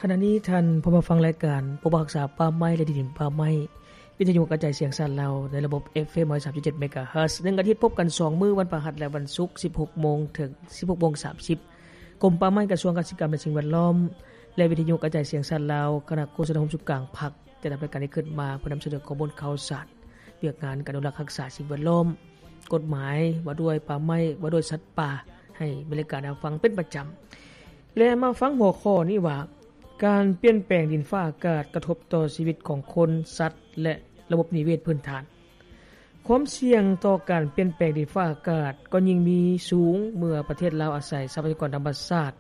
ຂະນະນີ້ທ່ານພົມມາຟັງລາຍການປົກປັກຮັກສາປ່າໄມ້ ແລະ ດິນປ່າໄມ້ ວິທະຍຸກະຈາຍສຽງຊາດລາວ ໃນລະບົບ ເອັຟເອັມ ຮ້ອຍສາມຈຸດເຈັດ ເມກາເຮີດ ໜຶ່ງອາທິດພົບກັນສອງມື້ ວັນພະຫັດ ແລະ ວັນສຸກ ສິບຫົກໂມງ ເຖິງ ສິບຫົກໂມງສາມສິບ. ກົມປ່າໄມ້ ກະຊວງກະສິກຳ ແລະ ສິ່ງແວດລ້ອມ ແລະ ວິທະຍຸກະຈາຍສຽງຊາດລາວ ຄະນະໂຄສະນາຮ່ວມສູນກາງພັກ ຈັດດຳເນີນລາຍການນີ້ຂຶ້ນມາ ເພື່ອນຳສະເໜີຂໍ້ມູນຂ່າວສານ ວຽກງານການອະນຸລັກຮັກສາສິ່ງແວດລ້ອມ, ກົດໝາຍວ່າດ້ວຍປ່າໄມ້, ວ່າດ້ວຍສັດປ່າ ໃຫ້ແຟນລາຍການໄດ້ຮັບຟັງເປັນປະຈຳ. ແລະ ມາຟັງຫົວຂໍ້ນີ້ວ່າ ການປ່ຽນແປງດິນຟ້າອາກາດກະທົບຕໍ່ຊີວິດຂອງຄົນ, ສັດ ແລະ ລະບົບນິເວດພື້ນຖານ. ຄວາມສ່ຽງຕໍ່ການປ່ຽນແປງດິນຟ້າອາກາດກໍຍິ່ງມີສູງ ເມື່ອປະເທດລາວອາໄສຊັບພະຍາກອນທຳມະຊາດ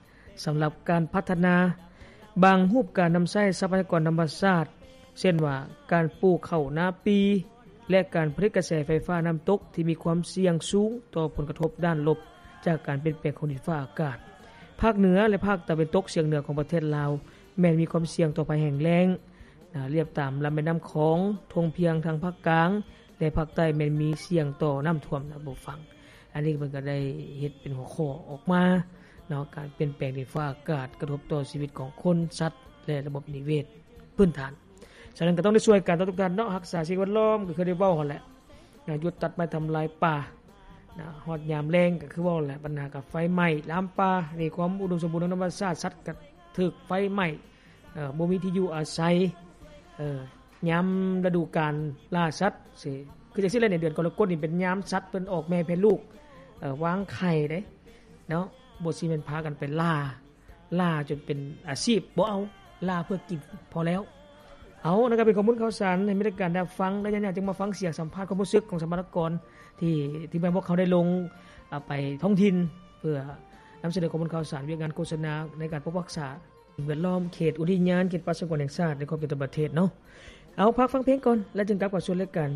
ສຳລັບການພັດທະນາ. ບາງຮູບການນຳໃຊ້ຊັບພະຍາກອນທຳມະຊາດ ເຊັ່ນວ່າ ການປູກເຂົ້ານາປີ ແລະ ການຜະລິດກະແສໄຟຟ້ານ້ຳຕົກ ທີ່ມີຄວາມສ່ຽງສູງຕໍ່ຜົນກະທົບດ້ານລົບ ຈາກການປ່ຽນແປງຂອງດິນຟ້າອາກາດ. ພາກເໜືອ ແລະ ພາກຕາເວັນຕົກສຽງເໜືອຂອງປະເທດລາວ ແມ່ນມີຄວາມສ່ຽງຕໍ່ໄພແຫ້ງແລ້ງ, ລຽບຕາມລຳແມ່ນ້ຳຂອງ, ທົ່ງພຽງທາງພາກກາງ ແລະ ພາກໃຕ້ແມ່ນມີສ່ຽງຕໍ່ນ້ຳຖ້ວມນະ ຜູ້ຟັງ. ອັນນີ້ເພິ່ນກໍໄດ້ເຮັດເປັນຫົວຂໍ້ອອກມາເນາະ, ການປ່ຽນແປງດິນຟ້າອາກາດກະທົບຕໍ່ຊີວິດຂອງຄົນ, ສັດ ແລະ ລະບົບນິເວດພື້ນຖານ. ສະນັ້ນກໍຕ້ອງໄດ້ຊ່ວຍກັນເນາະທຸກທ່ານເນາະ, ຮັກສາສິ່ງແວດລ້ອມ ກໍຄືໄດ້ເວົ້າຫັ້ນແຫຼະນະ, ຢຸດຕັດໄມ້ທຳລາຍປ່ານະ, ຮອດຍາມແລ້ງກໍຄືເວົ້າແຫຼະ, ບັນຫາກັບໄຟໄໝ້ລາມປ່າ, ນີ້ຄວາມອຸດົມສົມບູນທາງທຳມະຊາດ, ສັດກໍຖືກໄຟໄໝ້, ເອີ ບໍ່ມີທີ່ຢູ່ອາໄສ, ເອີ ຍາມລະດູການລ່າສັດ ຄືຈັ່ງຊີ້ແຫຼະ, ໃນເດືອນກໍລະກົດນີ້ເປັນຍາມສັດເພິ່ນອອກແມ່ແຜ່ລູກ, ເອີ ວາງໄຂ່ເດ້ເນາະ, ບໍ່ຊິແມ່ນພາກັນໄປລ່າ ລ່າຈົນເປັນອາຊີບ ບໍ່ເອົາ, ລ່າເພື່ອກິນພໍແລ້ວ. ເອົາ ນັ້ນກໍເປັນຂໍ້ມູນຂ່າວສານໃຫ້ແຟນລາຍການໄດ້ຮັບຟັງ, ແລະ ຍາມນີ້ຈຶ່ງມາຟັງສຽງສຳພາດຄວາມຮູ້ສຶກຂອງສຳມະນາກອນ ທີ່ ທີ່ແມ່ນພວກເຮົາໄດ້ລົງ ອາ ໄປທ້ອງຖິ່ນ ເພື່ອນຳສະເໜີຂໍ້ມູນຂ່າວສານ ວຽກງານໂຄສະນາໃນການປົກຮັກສາສິ່ງແວດລ້ອມ ເຂດອຸທິຍານ ເຂດປ່າສະຫງວນແຫ່ງຊາດ ໃນຂອບເຂດຕ່າງປະເທດເນາະ. ເອົາ ພັກຟັງເພງກ່ອນ ແລ້ວຈຶ່ງກັບເຂົ້າສູ່ລາຍການ